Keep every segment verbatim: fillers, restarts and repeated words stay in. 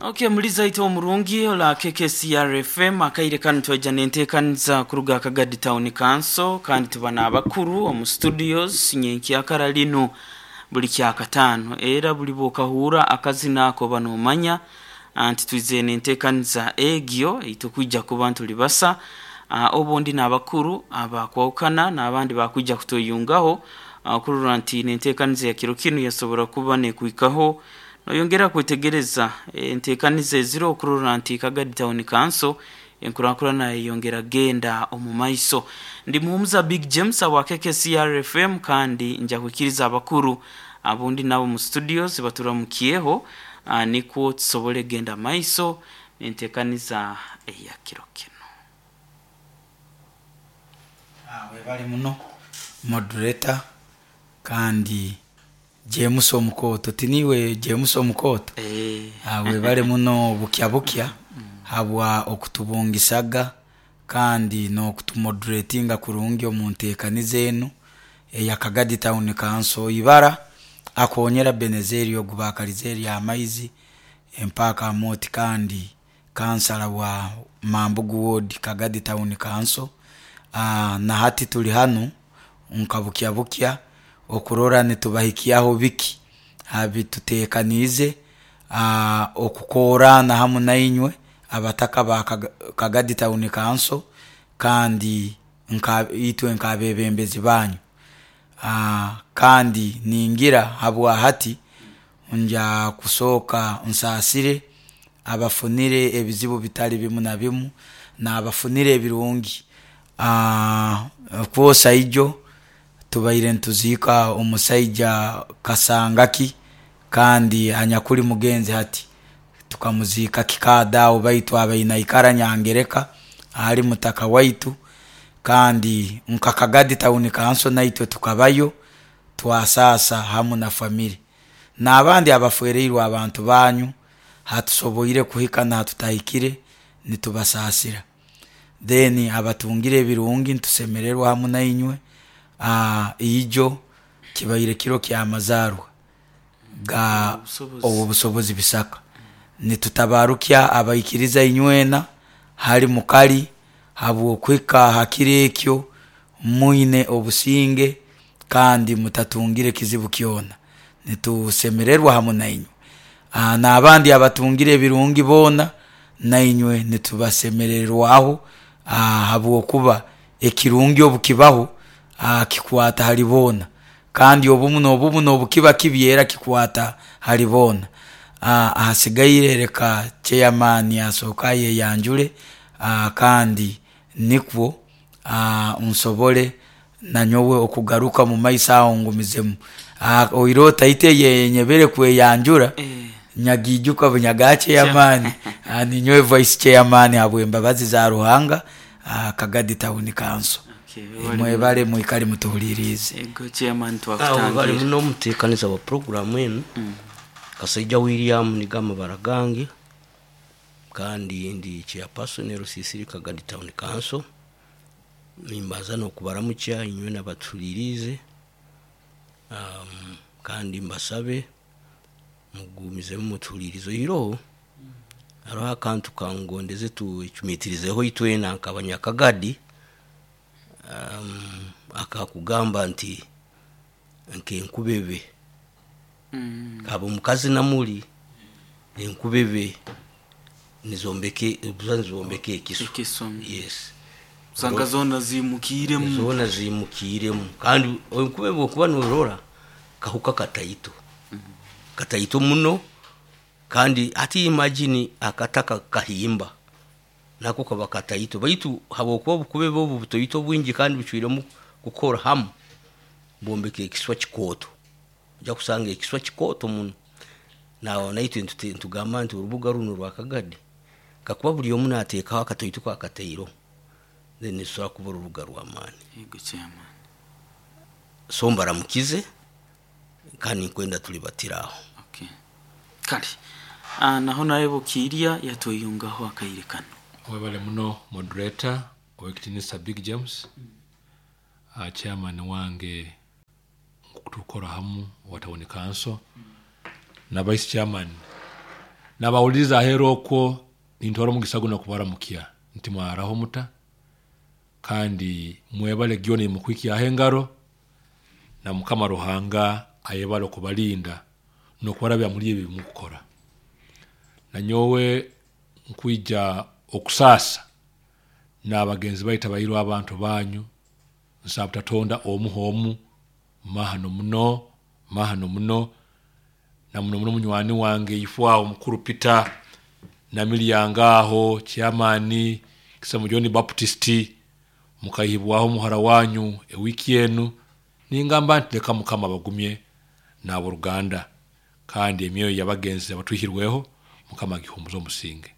Okay, muliza ite omurungi ola K K C R F M. Akaire kanu twaija nenteekaniza kuruga Kagadi Town Council, kandi tuba n'abakuru omu studios. Nyenkyakara linu buli kyakataano, era buli bwokahura akazina ako banomanya nti twize nenteekaniza egyo eitukwija kuba ntuli basa. uh, obundi n'abakuru abakwahukana n'abandi bakwija kutweyungaho uh, kurora nti nenteekaniza ya kiro kinu yasobora kuba nekwikaho noyongera kwetegereza enteekaniza eziro okurora nti Kagadi Town Council enkulankulana yeyongera genda omu maiso. Ndi Muhumuza Big James awa K K C R F M, kandi nja kwikiriza abakuru abundi nabo mu studios baturamukiyeho, uh, nikwo tusobole genda maiso nenteekaniza eya kiro kino. Ah, webale muno, moderator, kandi James Omukoto, tiniwe James Omukoto? Eh. Ah, webale muno bukya bukya habwa okutubungisaga kandi n'okutumoderatinga kurungi omu nteekaniza enu eya Kagadi Town Council. Ibara akonyera Benezeri ogu bakalize eri amaizi empaka amoti, kandi kansala wa Mambugu Ward, Kagadi Town Council. uh, na hati tuli hanu nka bukya bukya okurora nitubahikyaho biki abituteekaniize uh, okukorana hamu nainywe abataka ba Kagadi Town Council, kandi nka itwe nk'abebembezi banyu. uh, kandi ningira habwa hati nja kusooka nsaasire abafunire ebizibu bitali bimu na bimu n'abafunire ebirungi. uh, kwosa ijo tubaire nituziika omusaija Kasangaki, kandi anyakuli mugenzi hati tukamuziika kikaada, baitu abaine naikara Nyangereka ali mutaka waitu. Kandi nka Kagadi Town Council naitwe tukabayo twasasa hamu na family n'abandi abafereirwe abantu banyu. Hatusoboire kuhika nahatutahikire nitubasaasira. Then abatungire ebirungi nitusemererwa hamu nainywe. uh, ijo kibaire kiro kyamazarwa ga Owobusobozi Bisaka. Nitutabarukya abaikiriza inywena hali mukali habwokuhika hakiro ekyo mwine obusinge kandi mutatungire kizibu kyona, nitusemererwa hamu nainywe. uh, n'abandi abatungire ebirungi boona nainywe nitubasemererwaho, uh, habwokuba ekirungi obukibaho uh, kikwata hali boona, kandi obumu n'obumu n'obukiba kibi era kikwata hali boona. uh, ahasigaire reka chairman asooka ayeyanjule, uh, kandi nikwo uh, nsobole nanyowe okugaruka mu maiso aho ngumizemu. uh, oirota ite yenyebere kweyanjura. Eh. Nyagijuka bunyaga chairman, uh, ninyowe vice chairman habwembabazi za Ruhanga, uh, Kagadi Town Council. Okay, mwebale mwikale mutuhulirize. Ego, chairman. Awo bali Twakutangira. muno omuteekaniza wa programu enu, Kasaija William nigo gange, kandi ndi chairperson Rusisiri Kagadi Town Council. Nimbaza nokubaramukya inywe nabatulirize, um, kandi mbasabe mugumizemu mutulirize. Iroho hariho akantu kangondeze tucumitirizeho itwena nk'abanyakagadi, um, akakugamba nti nkenkubebe Mm. kaba omukazi namuli enkubebe nizombeke buza nizombeka ekiso. Ekiso. Yes. Usanga zona zimukiremu. Zona zimukiremu, kandi enkubebe okuba norora kahuka kataito kataito muno. Kandi ati imagine akataka kahimba nako kaba kataito, baitu habwokuba obukubebe obu butoito bwingi kandi bucwiremu kukora hamu bombeka ekiswa kikooto. Ojja kusanga ekiswa kikooto muno. Nawe naitwe ntute- ntugamba nti orubuga runo rwa Kagadi kakuba buli omu nateekaho akatoito kakatairo, then nitusobora kuba orubuga rw'amaani. Ego, chairman. So mbaramukize kandi nkwenda tulibatiraho. Okay, kale ah, naho naye bukiirya yatweyungaho akaire kano. Webale muno, moderator owekitinisa Big James, uh, chairman wange tukora hamu wa town council na vice chairman. Nabawuliriza ahera okwo nintwara omugisa guno kubaramukia nti mwaraho muta, kandi mwebale gyona mukwikyaho engaro, na Mukama Ruhanga ayebale okubalinda n'okubarabya muri ebi mukukora. Nanyowe nkwija okusaasa n'abagenzi baitu abairwe abantu banyu, nsaba butatonda omu omu mahano muno, mahano muno, na muno muno munywani wange ifwaho mukuru Peter Namilyango aho chairman Kisamo John Baptist, mukayibwaho muhara wanyu ewiki enu. Ningamba nti leka Mukama abagumye n'aboruganda, kandi emyoyo y'abagenzi abatwihirweho Mukama agihumuze omusinge.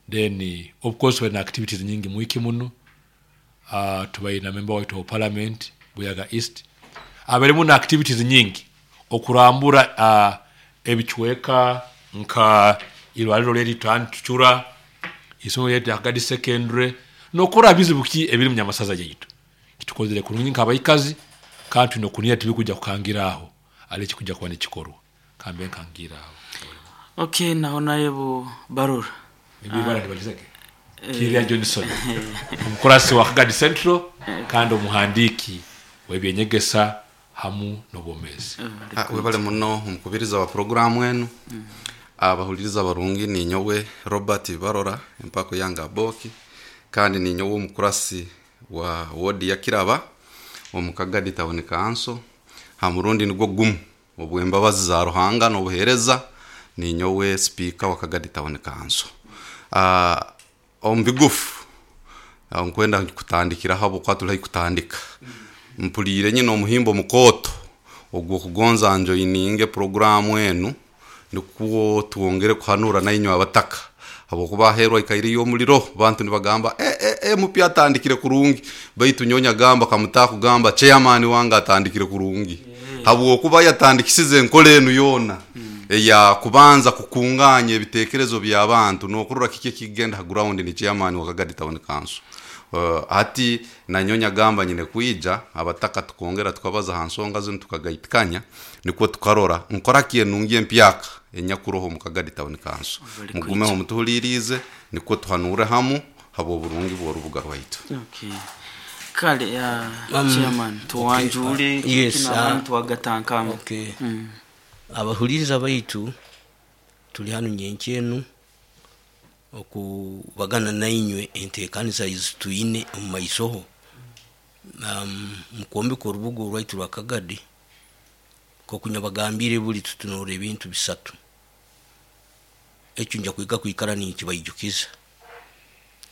Then of course when activities nyingi mwiki muno, uh, tubaire na member waitu wa parliament Buyaga East aberemu na activities nyingi okurambura uh, ebichweka nka irwaliro leri tuchura isomo yetu ya Kagadi Secondary nokora bizibu ki ebiri munyamasaza yaitu kitukozere kurungi nkabaikazi, kandi tulina okunia tibikuja kukangiraho ale kikuja kuba nikikorwa kambe nkangiraho. Okay, naho naye bo barora Ebibara ndibalizage Kiria Johnson omukurasi wa Kagadi Central kandi omuhandiki w'ebyenyegesa hamu n'obwomezi. Ah, webale muno omukubiriza wa programu enu. Abahuliriza barungi, ninyowe Robert Barora empako yanga Aboki, kandi ninyowe omukurasi wa wodi ya Kiraba omu Kagadi Town Council. Ha murundi nigwo gumu obwembabazi za Ruhanga n'obuheereza ninyowe speaker wa Kagadi Town Council. uh, omu bigufu uh, nkwenda kutandikira habwokuba tuli kutandika mpuliire nyine omuhimbo mukooto ogw'okugonza njoininge programu enu nikwo twongere kuhanura nainywe abataka, habwokuba aheerwa ikairiyo omuliro bantu nibagamba e, e, e, mupya atandikire kurungi, baitu nyonya gamba kamutakugamba chairman wange atandikire kurungi, habwokuba yatandikisize enkola enu yoona eya kubanza kukunganya ebitekerezo by'abantu n'okurora kiki ekigenda ha ground ni chairman wa Kagadi Town Council. Uh, hati nanyonya gamba nyine kwija abataka tukongera tukabaza ha nsonga zinu tukagaitikanya nikwo tukarora nkora ki enungi empyaka enyakuroho mu Kagadi Town Council. Bali Mugumeho mutuhulirize nikwo tuhanure hamu habw'oburungi bw'orubuga rwaitu. Okay, kale uh, Um, chairman tuwanjule. Okay, uh, yes, kina uh, tuwagatankamu. Okay. Mm. Abahuliriza baitu, tuli hanu nyenkyenu okubagana nainywe enteekaniza ezi twine omu maisoho um, mukwombeka orubuga orwaitu rwa Kagadi. Nkoku nyabagambire, buli tutunura ebintu bisatu. Ekyo nja kwika kwikara ninkibaijukiza.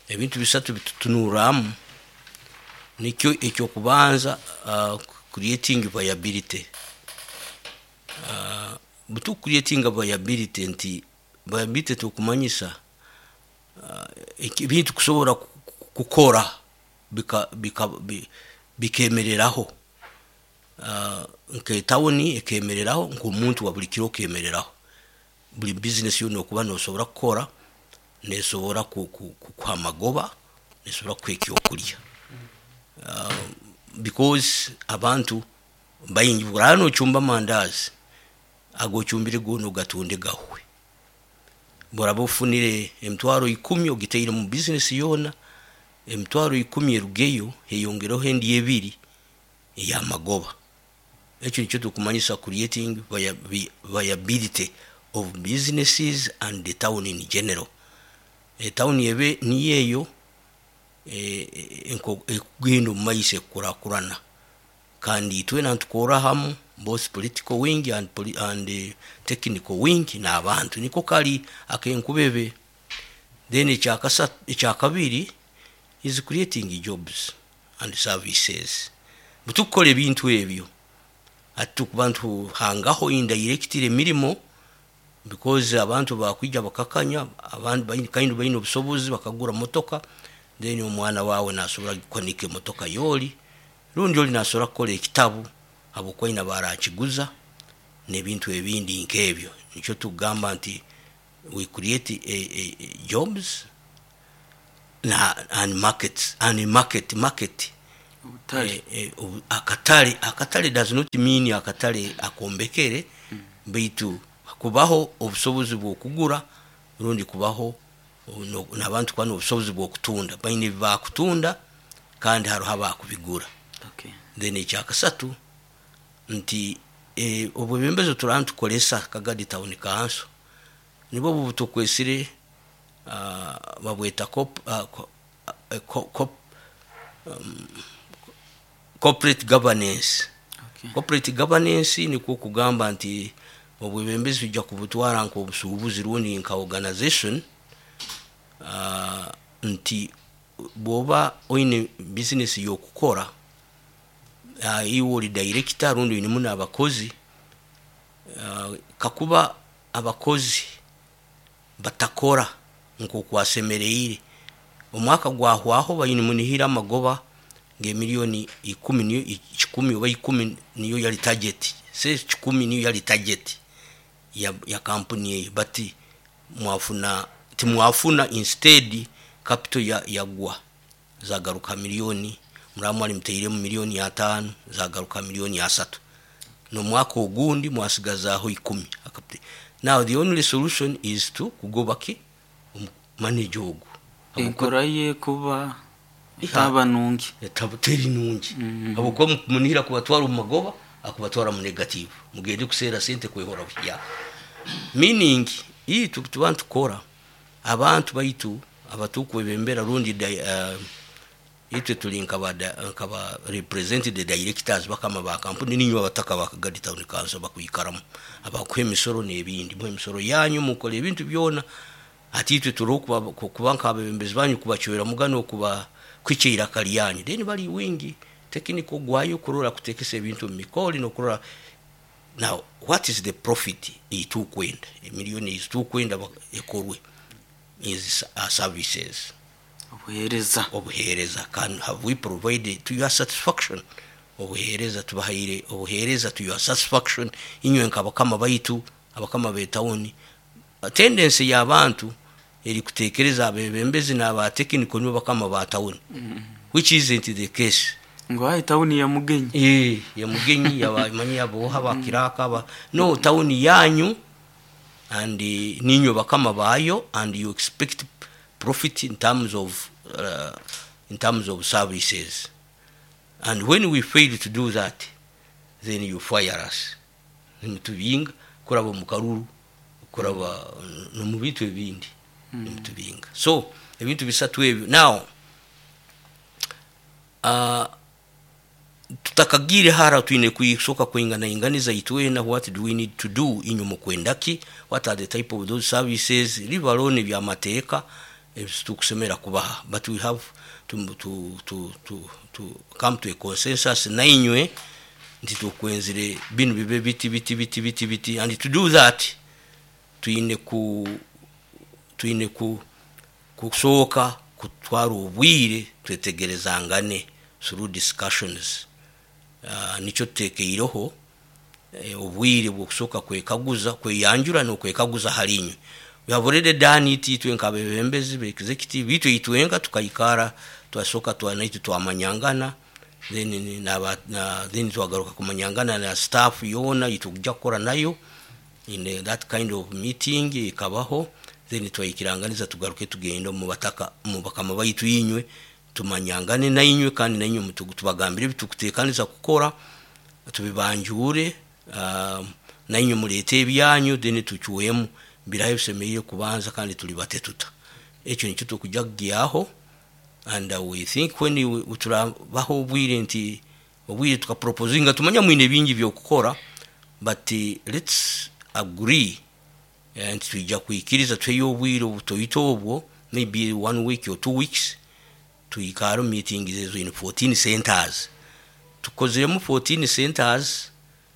Ebintu bisatu bitutunuramu nikyo ekyokubanza, uh, creating viability. uh, butu creating viability nti viability tukumanyisa uh, ebintu kusobora ku- ku- kukora bika bika bi- bikemereraho, uh, nk'etawuni ekemereraho, nk'omuntu wa buli kiro okemereraho, buli business yona okuba nosobora kukora nesobora ku- ku- kukuha amagoba, nesobora kukuha ekyokulya, uh, because abantu baingi buraba nochumba amandazi agochumbire goona ogatunde gahwe, buraba ofunire emitwaro ikumi ogiteire mu business yoona, emitwaro ikumi erugeyo heyongereho endi ebiri eyamagoba. Ekyo nikyo tukumanyisa creating viabi- viability of businesses and the town in general. Etown ebe niyo eyo eh, eh, enko- ekugenda omu maiso ekukurakurana, kandi itwena nitukora hamu, both political wing and, poli and uh, technical wing n'abantu niko kali akenkubebe. Then ekyakasa ekyakabiri is creating jobs and services. Butukukora ebintu ebyo ati tukuba ntuhangaho indirectly emirimo, because abantu bakwija bakakanya abantu baine kandi baine obusobozi bakagura motoka, then omwana wawe nasobora kukanika emotoka yoli, rundi oli nasobora kukora ekitabu habwokuba aine barakiguza n'ebintu ebindi nk'ebyo. Nikyo tugamba nti we create a, a, a jobs na and markets and market market Obutale. Eh, eh, obu- akatale. Akatale does not mean akatale akombekere, baitu kubaho obusobozi bw'okugura. Rundi kubaho no- n'abantu kuba n'obusobozi bw'okutunda, baine ebi bakutunda kandi haroho abakubigura. Okay. Then ekyakasatu nti eh, obwebembezi turaba nitukoresa Kagadi Town Council nibwo obu butukwesire uh, babweta cop, uh, co, uh, co, cop, um, corporate governance. Okay. Corporate governance nikwo kugamba nti obwebembezi tujja kubutwara nk'obusuubuzi rundi nka organization, uh, nti bw'oba oine business y'okukora, uh, iwe ori director rundi oinemu n'abakozi, uh, kakuba abakozi batakora nk'oku wasemereire, omwaka gwahwaho baine munihira amagoba ng'emiliyoni ikumi, niyo kikumi oba ikumi niyo yali target, se kikumi niyo yali target ya, ya kampuni eyo, but mwafuna timwafuna, instead capital ya yagwa zagaruka miliyoni muramu mwali muteiremu miliyoni ataano zagaruka miliyoni asatu, n'omwaka ogundi mwasigazaaho ikumi. Akapite- now the only solution is to kugoba ki manager ogu. Enkora ye kuba etaba nungi. Etaba teri nungi, habwokuba munihira kubatwara omu magoba, akubatwara mu negative, mugende kuseera sente kwehora buhyaka. Meaning itu tuba ntukora abantu baitu abatukwebembera rundi di- uh, itwe tuli nkaba nkaba represent the directors, bakama ba kampuni, ninywe abataka ba Kagadi Town Council bakwikaramu, abakuha emisoro n'ebindi, muha emisoro yanyu, mukora ebintu byona. Ati itwe turi okuba kuba nk'abebembezi banyu, kubacwera mugano, kuba kwikya iraka lyanyu. Then bali wingi technical gwayo kurora kutekesa ebintu mu mikoli n'okurora now what is the profit eitukwenda, emiliyoni ezitukwenda ekorwe is uh, services. Obuheereza. Obuheereza. Can have we provided to your satisfaction obuheereza? Tubahaire obuheereza to your satisfaction, inywe nk'abakama baitu, abakama b'etawuni? Tendency y'abantu eri kutekereza abebembezi n'aba technical nibo bakama ba tawuni, which isn't the case. Ngo ayi tawuni ya Mugenyi. Eh, ya Mugenyi, yabamanyi aboha bakiraka aba no tawuni yanyu and eh, ninywe bakama bayo, and you expect profit in terms of uh, in terms of services, and when we fail to do that, then you fire us. Nimutubinga kuraba mu karuru, kuraba no mu bintu ebindi, nimutubinga. So ebintu bisatu ebyo. Now uh, tutakagire hara, twine kuisoka kuingana inganiza itwena. What do we need to do? Inywe mukwendaki? What are the type of those services? Leave alone ebyamateeka ebitukusemera kubaha, but we have to, to, to, to, to come to a consensus nainywe nti tukwenzire binu bibe biti biti biti biti biti. And to do that twine ku twine ku kusooka kutwara obwire twetegerezangane through discussions. uh, nikyo tutekeireho eh, obwire bwokusooka kwekaguza, kweyanjura n'okwekaguza halinywe. We have already done it, itwe nk'abebembezi be executive itwe itwenga tukaikara, twasooka twanaitu twamanyangana, then naba na, then twagaruka kumanyangana na staff yoona itujja kukora nayo in uh, that kind of meeting ikabaho. Then twayikiranganiza tugaruke tugende mu bataka, mu bakama baitu inywe, tumanyangane nainywe, kandi nainywe mutu- tubagambire ebitukutekaniza kukora, tubibanjure, um, nainywe muleete ebyanyu, then tucwemu birahe bisemereire kubanza kandi tuli bate tuta. Ekyo nikyo tukujja kugyaho. And uh, we think when we- turabaho obwire nti obwire tukaproposinga, tumanya mwine bingi byokukora, but uh, let's agree eh, nti twija kwikiriza tweyo obwire obutoito obwo, maybe one week or two weeks, tuyikare mu meetings ezo in fourteen centers. Tukozeremu fourteen centers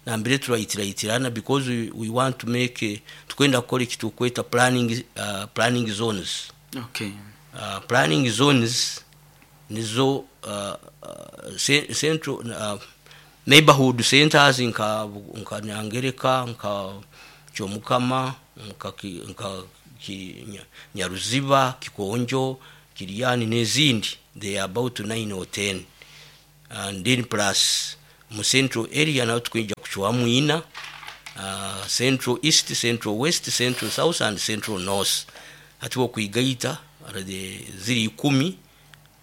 nambere turayitirayitirana, because we, we want to make eh, tukwenda kukora ekitukweta planning, uh, planning zones. Okay. uh, planning zones nizo uh, uh, ce- central uh, neighborhood centers nka nka Nyangereka, nka Kyomukama, nka, ki- nka ki, Nya- Nyaruziba, Kikonjo, Kiryani n'ezindi. They are about nine or ten, and then plus mu central area nayo tukwija kucwamu ina, uh, central east, central west, central south and central north. Hati okwigaita the ziri ikumi,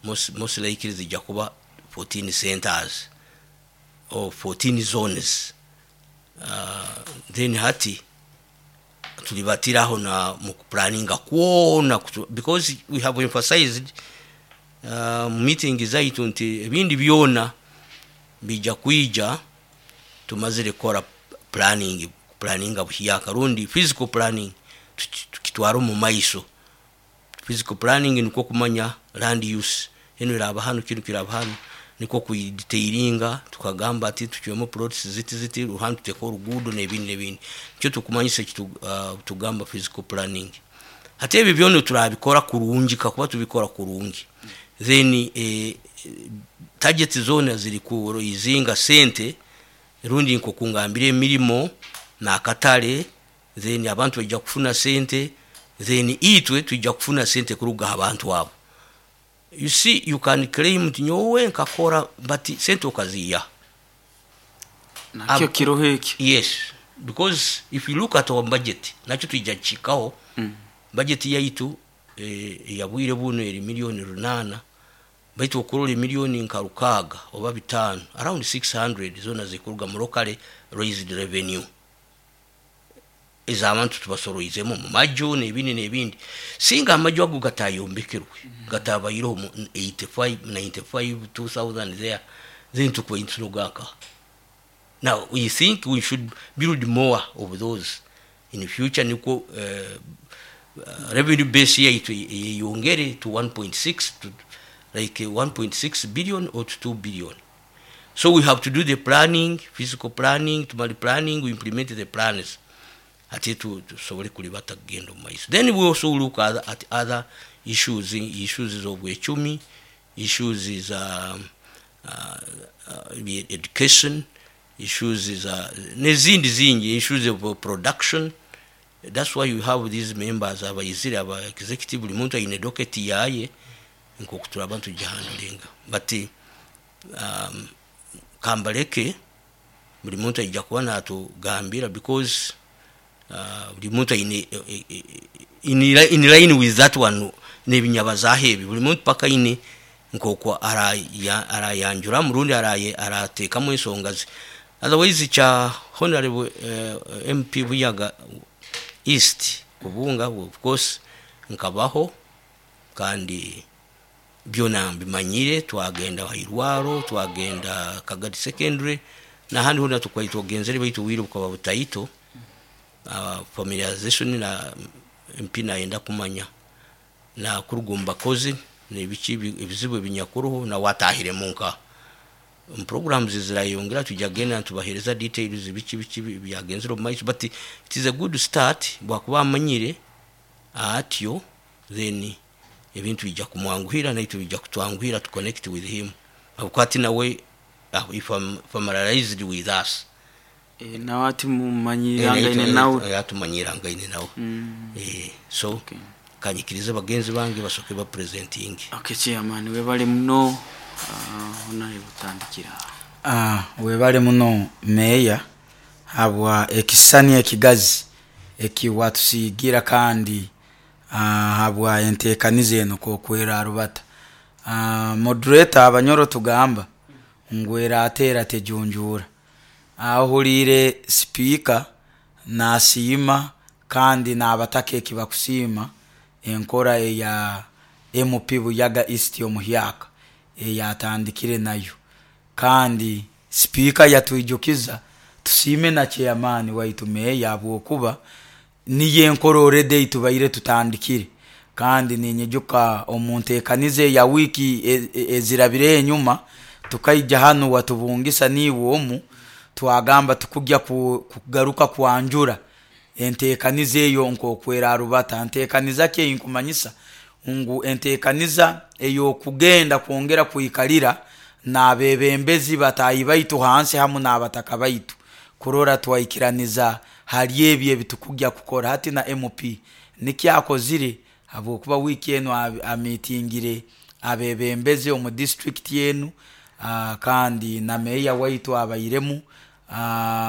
most, most likely zijja kuba fourteen centers or fourteen zones. uh, then hati tulibatiraho na mu kuplanninga kwona kutu- because we have emphasized uh, mu meeting zaitu nti ebindi byona bijja kwija tumazire kukora planning, planninga buhyaka rundi physical planning tuki- tukitwara omu maiso. Physical planning nikwo kumanya land use eno eraba hanu, kinu kiraba hanu, nikwo kuidetailinga tukagamba ati tucwemu plots ziti ziti, ruhanu tuteka oruguudo n'ebindi n'ebindi. Nikyo tukumanyisa eki tu- uh, tugamba physical planning. Hati ebyo byona turabikora kurungi, kakuba tubikora kurungi, then eh, target zona ziri kuizinga sente rundi nkokungambira emirimo n'akatale, then abantu bajja kufuna sente, then itwe tujja kufuna sente kuruga ha bantu abo. You see, you can claim nti nyowe nkakora, but sente okaziya? Nakyo Ab- kiroho ekyo. Yes, because if you look at our budget, nakyo tujja kukikaho. Mm. Budget yaitu eh, eyabwire buno eri miliyoni runana, baitu okurora emiliyoni nka rukaaga oba bitaano, around six hundred, zona zikuruga mu locally raised revenue ez'abantu tubasoroizemu mu maju n'ebindi n'ebindi. Singa amaju ago gatayombekerwe, gatabaireho mu eighty-five, ninety-five, two thousand there, then tukuba ntunogaka. Now we think we should build more of those in the future, nikwo uh, uh, revenue base yaitu yeyongere to one point six, to like uh, one point six billion or to two billion. So we have to do the planning, physical planning. Tumali planning, we implement the plans, ate tu- tusobole kulibata kugenda omu maiso. Then we also look at, at other issues, issues z'obwecumi, issues za uh, uh, education, issues za n'ezindi zingi, issues of production. That's why you have these members abayizire, aba executive, buli muntu ayine docket yaye nkoku turaba tugihandlinga. But um, kambaleke buli muntu aija kuba natugambira, because uh, buli muntu aine eh, eh, in, in line with that one n'ebinyabazaho ebi, buli muntu paka aine nk'oku araya- arayanjuramu rundi araye- arateekamu ensonga ze. Otherwise kya Honorable uh, M P Buyaga East kubunga, of course nkabaho kandi byona mbimanyire. Twagenda hairwaro, twagenda Kagadi Secondary nahandi hona tukwai twagenzere, baitu bwire bukaba butaito. uh, familiarization na M P nayenda kumanya na kuruga bakozi nebiki ebizibu ebinyakuruho na watahire munka mu programs zirayongera, tujja genda tubahereza details biki biki byagenzere omu maiso. But it is a good start, bwakuba amanyire atyo, then ebintu bijja kumwanguhira naitu bijja kutwanguhira to connect with him, habwokuba ati nawe uh, if I'm familiarized with us. Eh, nawe ati mumanyirangaine nawe. Atumanyirangaine nawe. Mm. Eh, so Okay. kanyikirize bagenzi bange basoke bapresenting. Okay, chairman, webale muno. uh, honorable tandikira. Ah, webale muno meeya habwa ekisani ekigazi ekiwatusiigira, kandi ah, habwa enteekaniza eno kokwera arubata. ah, moderator abanyoro tugamba ngu erateera tejunjuura. Ahuliire sipiika nasiima kandi n'abataka ekibakusiima enkora eya M P Buyaga East omuhyaka eyatandikire nayo, kandi sipiika yatwijukiza tusiime na chairman waitu meeya habwokuba niyo enkora already tubaire tutandikire. Kandi ninyijuka omu nteekaniza eya wiiki e- e- ezirabire enyuma, tukaija hanu watubungisa niiwe omu, twagamba tukujya ku- kugaruka kwanjura enteekaniza eyo nkokwera arubata. Nteekaniza ki eyinkumanyisa ngu enteekaniza ey'okugenda kwongera kwikalira n'abebembezi bataahi baitu hansi hamu n'abataka baitu kurora twaikiraniza hali ebyo ebitukujya kukora. Hati na M P nikyakozire, habwokuba wiiki enu amitingire abebembezi omu district enu, ah, kandi na meeya waitu abairemu. ah,